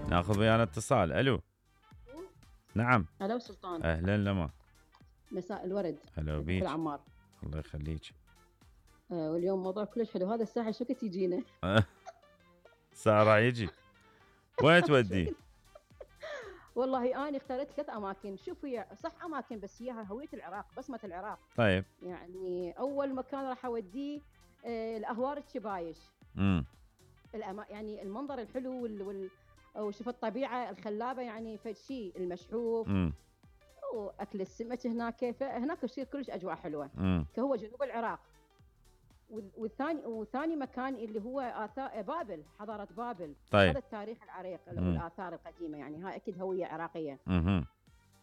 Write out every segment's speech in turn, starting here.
ناخذ ويانا اتصال. الو. نعم. الو سلطان. اهلا لما. مساء الورد. هلا بيك. العمار. الله يخليك. واليوم موضوع كلش حلو. هذا الساحه شو كنت يجينا؟ الساعه راح يجي. وين تودي؟ والله انا اخترت 3 اماكن. شوف هي صح اماكن بس هي هويه العراق، بصمه العراق. طيب. يعني اول مكان راح اوديه الاهوار الشبايش. يعني المنظر الحلو وشوف الطبيعه الخلابه، يعني فشي المشحوف. واكل السمك هناك، فهناك يصير كلش اجواء حلوه. كهو جنوب العراق. وثاني مكان اللي هو آثار بابل، حضاره بابل. طيب. هذا التاريخ العريق والاثار القديمه، يعني هاي اكيد هويه عراقيه.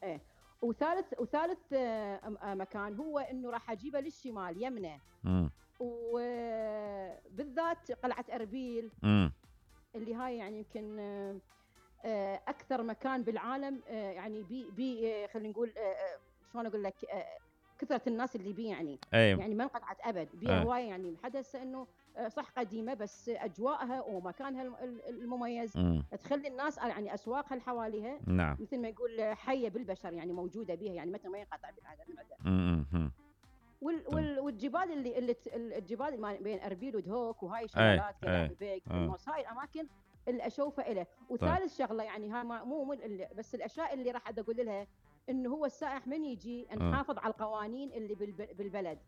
ايه. وثالث مكان هو انه راح اجيبه للشمال يمنه. وبالذات قلعه اربيل. اللي هاي يعني يمكن اكثر مكان بالعالم، يعني بي خلينا نقول شلون اقول لك، كثره الناس اللي بيه يعني. أيوة. يعني ما انقطعت ابد بيها هوايه، يعني حدث انه صح قديمه بس اجواءها ومكانها المميز تخلي الناس يعني اسواقها اللي حواليها. نعم. مثل ما يقول حيه بالبشر، يعني موجوده بها، يعني متى ما ينقطع بالعاده. والجبال الجبال بين اربيل ودهوك وهاي شغلات كذا هاي الاماكن اللي اشوفها له. وثالث شغله يعني هاي مو بس الاشياء اللي راح اقول لها انه هو السائح من يجي نحافظ على القوانين اللي بالبلد.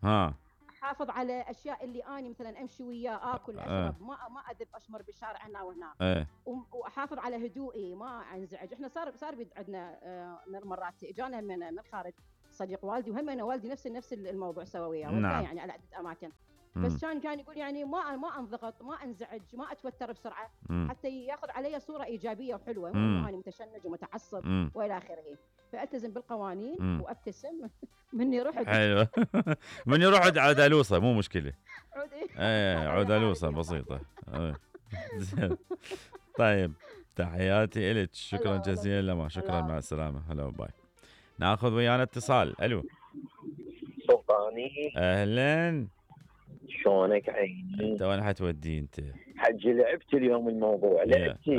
احافظ على اشياء اللي اني مثلا امشي وياه اكل اشرب، ما اذب اشمر بالشارع هنا وهنا. واحافظ على هدوئي، ما انزعج. احنا صار عندنا مرات اجانا من خارج صديق والدي، وهم انا والدي نفس الموضوع سوى وياه. نعم. يعني على عده اماكن. بس كان يقول يعني ما انضغط، ما انزعج، ما اتوتر بسرعه. حتى ياخذ علي صوره ايجابيه وحلوه، مو انه انا متشنج ومتعصب والى اخره. فالتزم بالقوانين وابتسم. مني رحت. حلو. مني رحت عدالوصه مو مشكله. عدالوصه بسيطه. طيب تحياتي إلك. شكرا جزيلا لما. شكرا. مع السلامه. هلا باي. ناخذ ويانا اتصال. الو. سلطاني. اهلا. شلونك عيني؟ انت وين حتودي انت؟ حجي لعبت اليوم الموضوع. لعبتي.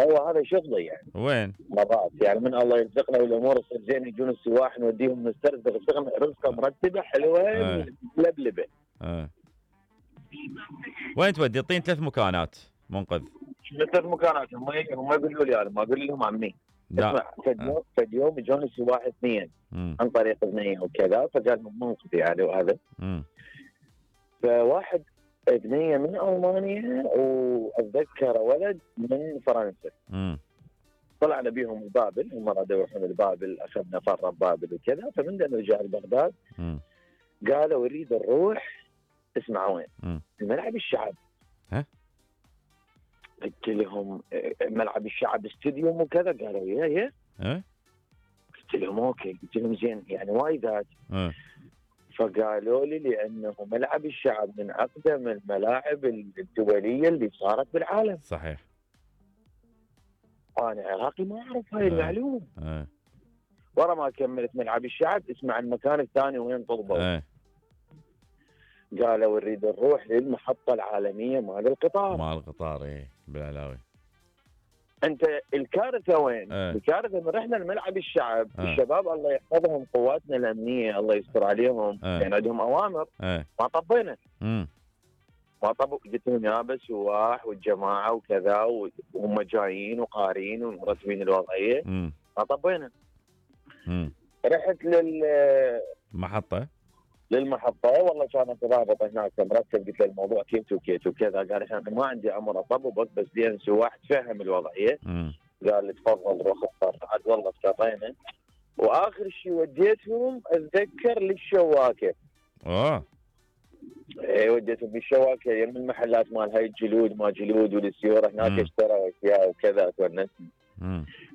هو هذا شغلي يعني. وين؟ مرات يعني من الله يرزقنا والامور تصير زين، يجون السواح نوديهم نسترزق رزقه مرتبه حلوه ملبلبه. وين تودي؟ اعطيني 3 مكانات منقذ. 3 مكانات. هم يقولوا لي انا ما اقول لهم عمي. اسمع، فد يوم يجون السواح 2 عن طريق بنيه وكذا، فقال منقذ يعني وهذا. فواحد بنيه من المانيا واتذكر ولد من فرنسا. طلعنا بيهم بابل، هم رادوا يروحون لبابل، اخذنا فره بابل وكذا. فمن نرجع لبغداد قالوا نريد نروح. اسمع وين؟ الملعب الشعب. قلت لهم ملعب الشعب استديوم وكذا. قالوا يا قلت لهم اوكي. قلت لهم زين يعني وايدات. فقالوا لي لانه ملعب الشعب من اقدم الملاعب الدوليه اللي صارت بالعالم. صحيح. انا عراقي ما اعرف هاي المعلومه. ورا ما كملت ملعب الشعب اسمع المكان الثاني وين طلبوا. قالوا نريد نروح للمحطه العالميه مال القطار. بالعلاوي. انت الكارثه وين؟ الكارثه من رحنا لملعب الشعب. الشباب الله يحفظهم، قواتنا الامنيه الله يستر عليهم، يعني عندهم اوامر. ما طبينا. ما طبوا. قلت لهم يا بس سواح والجماعه وكذا وهم جايين وقارين ومرتبين الوضعيه. ما طبينا. رحت للمحطه. والله كانت ضابط هناك مرتب. قلت له الموضوع كيت وكيت وكذا. قال انا ما عندي امر اطببك بس دين سواح تفهم الوضعيه. قال لي تفضل روح اختار. عاد والله اضطرينا. واخر شيء وديتهم اتذكر للشواكه. وديتهم بالشواكه يم المحلات مال هاي الجلود ما جلود والسيوره هناك اشتروا اشياء وكذا تونسني.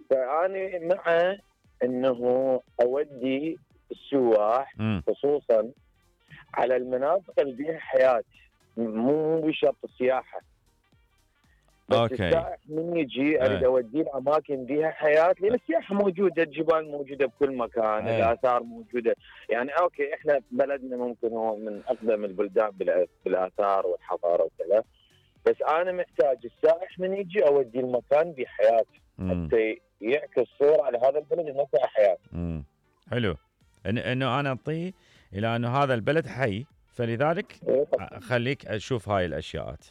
فاني مع انه اودي السواح خصوصا على المناطق اللي فيها حياه، مو بشرط السياحه. بس السائح من يجي اريد اوديه الاماكن فيها حياه، لان السياحه موجوده، الجبال موجوده بكل مكان، الاثار موجوده. يعني اوكي احنا بلدنا ممكن هو من اقدم البلدان بالاثار والحضاره وكذا، بس انا محتاج السائح من يجي اودي المكان بحياته حتى يعكس صوره على هذا البلد انه في حياه. حلو انه انا اعطيه الى انه هذا البلد حي، فلذلك خليك اشوف هاي الاشياءات.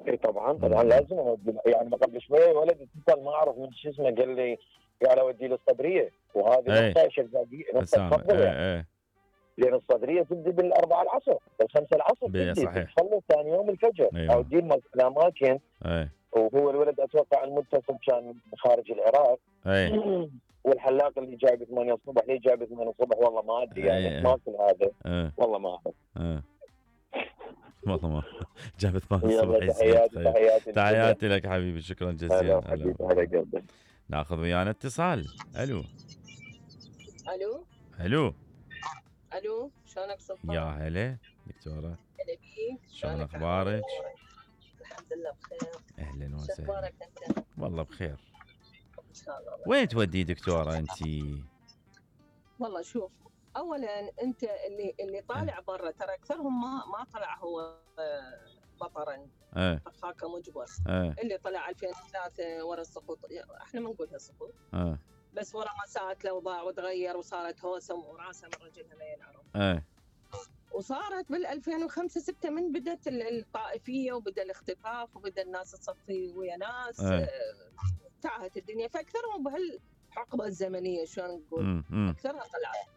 اي طبعا لازم اودي. يعني ما قبل شويه ولد اتصل ما اعرف من شو اسمه قال لي قال اودي للصدريه، وهذه نقطه شجاعيه نقطه تفضل يعني. لان الصدريه تبدي بال4 العصر بال5 العصر تبدي تصلي ثاني يوم الفجر. اودي الاماكن. وهو الولد اتوقع المتصل كان خارج العراق. والحلاق اللي جايب 8 الصبح ليه جايب 8 الصبح والله ما ادري يعني ماكل هذا. والله ما اعرف. والله ما جابت 8 الصبح. تحياتي لك حبيبي، شكرا جزيلا. هلا ناخذ ويانا اتصال. الو شلونك سلطان؟ يا هلا دكتوره. هلا بيك. شلون اخبارك؟ الحمد لله بخير. اهلا وسهلا. شكرك انت؟ والله بخير. ان شاء الله. وين تودي دكتوره انت؟ والله شوف، اولا انت اللي طالع برا ترى اكثرهم ما طلع هو بطرا. اخاك مجبر. اللي طلع 2003 ورا السقوط، احنا ما نقولها سقوط. بس ورا ما صارت الاوضاع وتغير وصارت هوسه وراسه من رجلها ما ينعرف. وصارت بال 2005 6 من بدت الطائفيه وبدا الاختطاف وبدا الناس تصفي ويا ناس. انتهت الدنيا، فاكثرهم بهالحقبه الزمنيه شلون نقول اكثرها طلعت.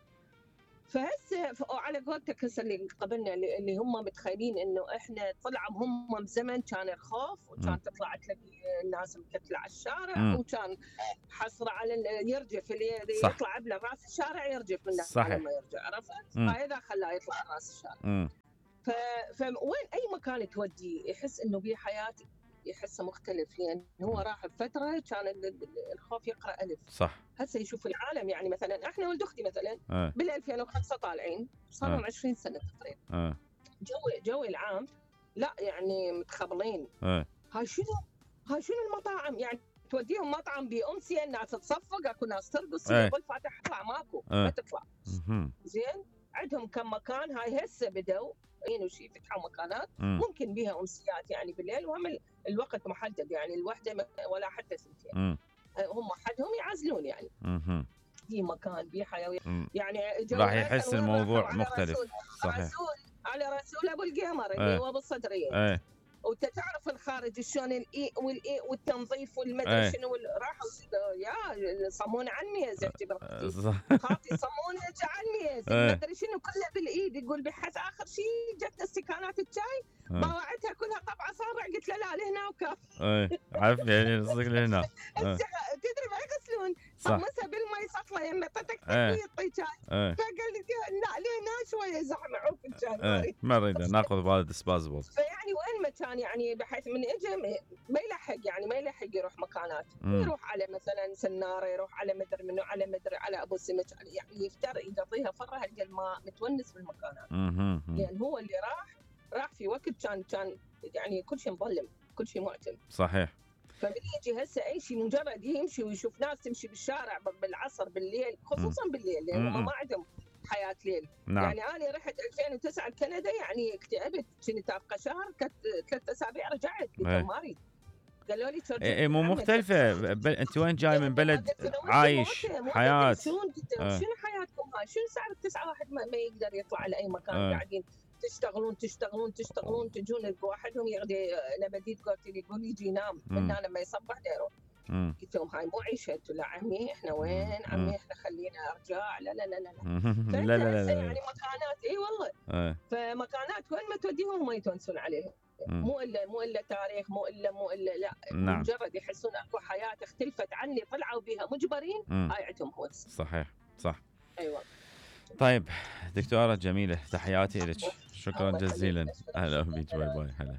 فهسه وعلى قولتك هسه اللي قبلنا اللي هم متخيلين انه احنا طلعوا هم بزمن كان الخوف وكان تطلع تلاقي الناس مكتله على الشارع وكان حصر على يرجف اللي يطلع بله راس الشارع يرجف الناس لما يرجع، عرفت؟ فهذا خلاه يطلع راس الشارع. فوين اي مكان تودي يحس انه بيه حياه يحسه مختلف، لان هو راح بفتره كان الخوف يقرا الف. صح. هسه يشوف العالم، يعني مثلا احنا ولد اختي مثلا بال 2005 طالعين صار لهم 20 سنه تقريبا. جوي العام لا يعني متخبلين. هاي شنو المطاعم، يعني توديهم مطعم بامسيه الناس تصفق، اكو ناس ترقص يقول فاتح اطلع ماكو ما تطلع. زين عندهم كم مكان هاي هسه بدوا وشي فتحوا مكانات ممكن بيها امسيات يعني بالليل، وهم الوقت محدد يعني الوحده ولا حتى سنتين. هم حدهم يعزلون يعني. في مكان في حيوية يعني راح يحس الموضوع مختلف. صحيح. على رسول ابو القمر اللي هو بالصدريه. وانت تعرف الخارج شلون الاي والاي والتنظيف والمدري شنو راحوا يا صمون عني زفتي خاطي صمون عني المدري شنو كله بالايد. يقول بحث اخر شيء جتنا استكانات الشاي باوعتها كلها طبعه صابع، قلت له لا لهنا وكاف. عارف يعني نصدق لهنا. تدري ما يغسلون طمسها بالماء سطله يمه طتك يعطي شاي. فقال لي لا لهنا شويه زحمه عوف الشاي ما نريد ناخذ بهذا ديسبازبل. فيعني وين ما كان يعني بحيث من اجى ما يلحق يعني ما يلحق يروح مكانات. يروح على مثلا سناره، يروح على مدري منو، على مدري على ابو سمك، يعني يفتر يقضيها فرها هالقد ما متونس بالمكانات. لان هو اللي راح في وقت كان يعني كل شيء مظلم كل شيء معتم. صحيح. فبيجي هسه اي شيء مجرد يمشي ويشوف ناس تمشي بالشارع بالعصر بالليل، خصوصا بالليل لان ما عندهم حياه ليل. نعم. يعني انا رحت 2009 لكندا يعني اكتئبت، كنت ابقى شهر 3 أسابيع رجعت ما اريد. قالوا لي مو مختلفه. انت وين جاي من بلد عايش حياه شنو حياتكم هاي؟ شنو سعر 9 واحد ما يقدر يطلع لاي مكان قاعدين تشتغلون تجون واحدهم يغدي نبديت قلت لي يقول يجي ينام من هنا لما يصبح ديره. قلت لهم هاي مو عيشه. لا عمي احنا وين عمي احنا خلينا ارجع. لا لا لا لا لا لا يعني مكانات اي والله. فمكانات وين ما توديهم ما يتونسون عليها. مو الا تاريخ مو الا لا. نعم. مجرد يحسون اكو حياه اختلفت عن اللي طلعوا بها مجبرين. هاي عندهم هوس. صحيح صح. ايوه. طيب دكتوره جميله تحياتي لك، شكرا جزيلا. اهلا بك. باي باي. هلا.